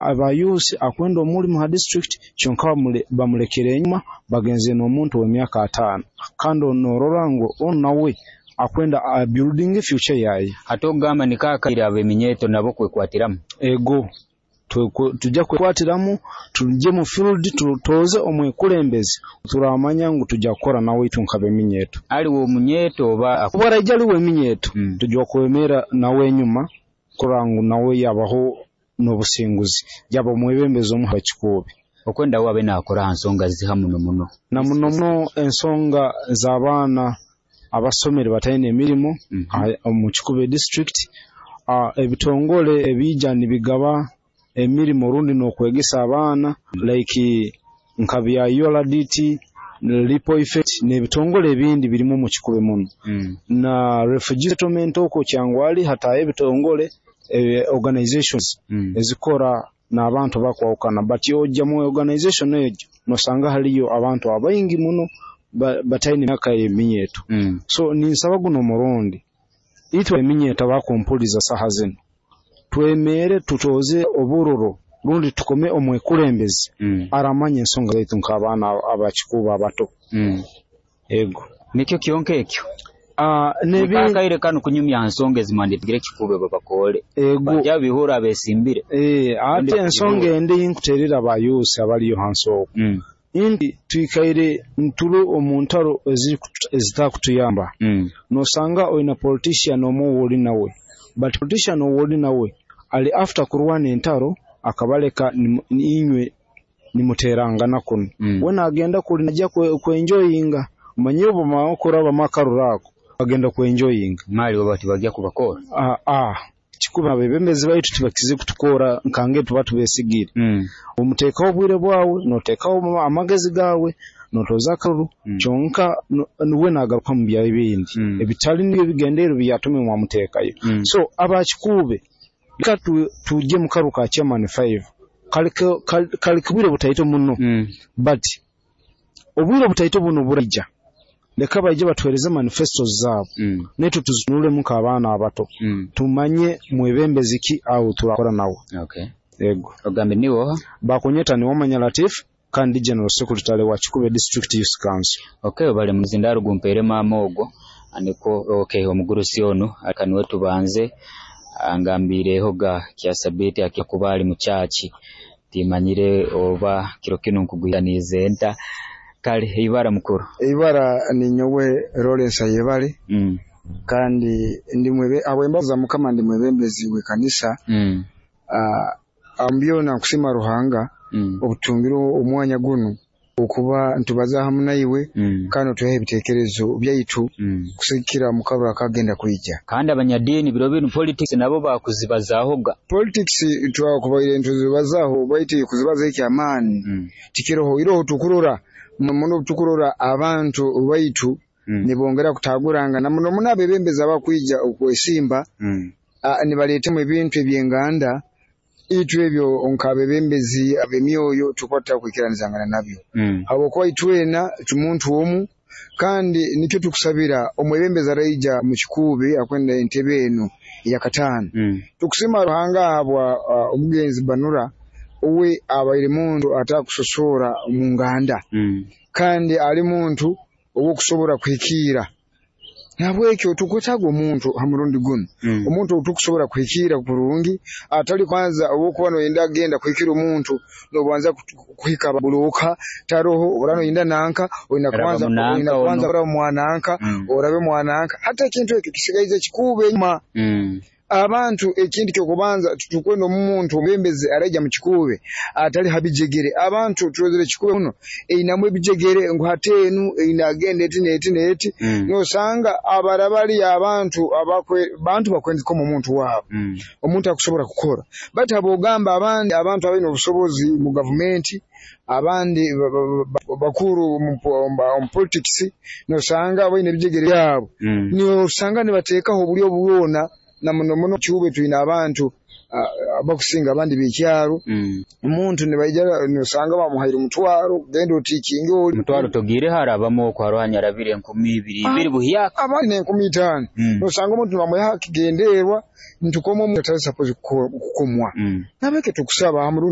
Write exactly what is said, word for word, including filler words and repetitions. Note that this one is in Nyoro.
Aba youth akwenda omulimu ha district kyonka bamule bamulekere enyuma, bagenzere n'omuntu ow'emyaka ataano, kandi noorora ngu onu nawe akwenda abuildinge future yaye. Hati okugamba niko akaire ab'eminyeeto nabo kwekwatiramu? Ego, tujja kwekwatiramu, tugye mu field, tutooze omwekulembeze turamanya ngu tujja kukora nawe itwe nk'abeminyeeto. Ali w'omunyeeto oba? Obu araija ali w'eminyeeto, Mm. tujja kwemerra nawe enyuma kurora ngu nawe yabaho n'obusinguzi, yaba mwebembezi omu ha Kikuube. Okwenda we abe naakora ha nsonga ziha muno muno? Na muno muno ensonga z'abaana abasomere bataine mirimo Mm -hmm. omu Kikuube District, uh, ebitongole ebiija nibigaba emirimo rundi n'okwegesa abaana like nka bya U R D T, Ripple Effect n'ebitongole ebindi birimu omu Kikuube muno. Mm. Na refugee settlement okwo Kyangwali hataayo ebitongole, eh, organizations Mm. ezikora n'abantu bakwahukana, but ojja mu organization egyo nosanga haliyo abantu abaingi muno bataine myaka y'eminyeeto. Mm. So ninsaba guno omurundi itwe eminyeeto abakumpuliza saaha zinu, twemeere tutooze oburoro rundi tukome omwekulembeze Mm. aramanya ensonga zaitu nk'abaana aba Kikuube abato. Mm. Ego. Nikyo kyonka ekyo? Uh, nebi akaire kanu kunyumya ha nsonga ezimwanditigire Kikuube babakoole. Ego. Bajja bihura abesimbire. Eh, ate ensonga endi nkuterera aba youth abaliyo hansi okwo. Mm. Nti twikaire ntuli omu ntaro ezitakutuyamba. Mm. Nosanga oina politician omwe owoli nawe, but politician owoli nawe ali after kurwana entaro akabaleka inywe nimuterangana kunu. Mm. We nagenda kuli najja kwenjoyinga, omanyire obu bamara kurabamu akaruru ako bagenda kwenjoyinga. Mali oba tibajja kubakora? Ah, ah. Kikuba abebembezi baitu tibakize kutukora nkange tuba tubesigire. Mm. Omuteekaho obwire bwawe, noteekaho amagezi gawe, notoza akaruru, Mm. kyonka we nagaruka mu bya bindi Mm. ebitali nibyo bigendeerwa byatume mwamuteekayo. Mm. So aba Kikuube leka tujje mu karuru ka chairman five, kali kali bwire butaito muno. Mm. But obwire butaito buno buraija, leka baije batuhereze manifestos zaabo, Mm. naitwe tuzitunulemu nk'abaana abato, Mm. tumanye mwebembezi ki awo turakora nawe. Okay. Ego. Ogambe niwe oha? Bakunyeta Niwamanya Latif, kandi General Secretary wa Kikuube District Youth Council. Okay, obale muzindaro gumpeere maama ogwo aniko. Okay, omugurusi onu akaniwe tubanze angambireho ga kyasabiti akuba ali mu church, timanyire oba kiro kinu nkugwitanize nta. Kale ibara mukuru? Ibara ninyowe Lawrence Ayebare. Mm. Kandi ndi mwebe habw'embabazi za Mukama ndi mwebembezi w'ekanisa. Mm. Uh, byona nkusima Ruhanga Mm. obutungire omwanya gunu okuba ntubaza hamu naiwe, Mm. kandi otuhe ebitekerezo byaitu Mm. kusigikira mu karuru akagenda kwija. Kandi abanyadiini biro binu politics nabo bakuzibazaahoga. Politics twakubaire ntuzibazaho, baitu kuzibaza ekyamaani Mm. tikiroho. Iroho tukurora muno, tukurora abantu baitu Mm. nibongera kutagurangana muno muno abebembezi abakwija okwesimba, Mm. uh, nibaleetemu ebintu ebyenganda. Itwe ebyo nk'abebembezi ab'emyoyo tukuba tutakwikiranizangana nabyo, Mm. habwokuba itwena tumuntu omu, kandi nikyo tukusabira omwebembezi araija mu Kikuube akwenda entebe enu eyakataano. Mm. Tukusima Ruhanga habwa uh, omugenzi Banura, uwe abaire muntu atakusosoora mu nganda, Mm. kandi ali muntu ow'okusobora kuhikiira. Nahabwekyo tukwetaaga omuntu ha murundi gunu, Mm. omuntu otukusobora kuhikiira kurungi, atali kwanza obwokuba noyenda kugenda kuhikira omuntu nobanza kuhika buroka taroho, ora noyenda nanka oyina Raba kwanza munanka oyina kwanza ono. oraba mwananka, Mm. orabe mwananka. Hati ekintu ekyo kisigaize Kikuube enyuma. Mm. Abantu ekintu kyokubanza tukwenda omuntu omwebembezi araija mu Kikuube atali ha bijegere. Abantu turozere Kikuube muno einamu ebijegere ngu hati enu eina agenda eti n'eti n'eti. Mm. Nosanga abarabali abantu abakwe bantu bakwenzikoma omuntu waabo, Mm. omuntu akusobora kukora, baitu abogamba abandi abantu abaine obusobozi mu gavumenti, abandi bakuru mu politics, nosanga baine ebijegere byabo, Mm. nosanga nibateekaho obulyo bwona. Na muno muno Kikuube twine abantu ah, abakusinga abandi b'ekyaro. Mm. Omuntu nibaija nosanga bamuhaire omutwaro, genda otiikinge oli. Omutwaro togiireho, harabamu oku haroho anyarabire enkumi ibiri ibiri buhyaka. Abandi n'enkumi itaano. Mm. Nosanga omuntu nibamuha kigenderwa ntukoma omuntu atali supposed kukomwa. Mm. Nabeke tukusaba ha murundi.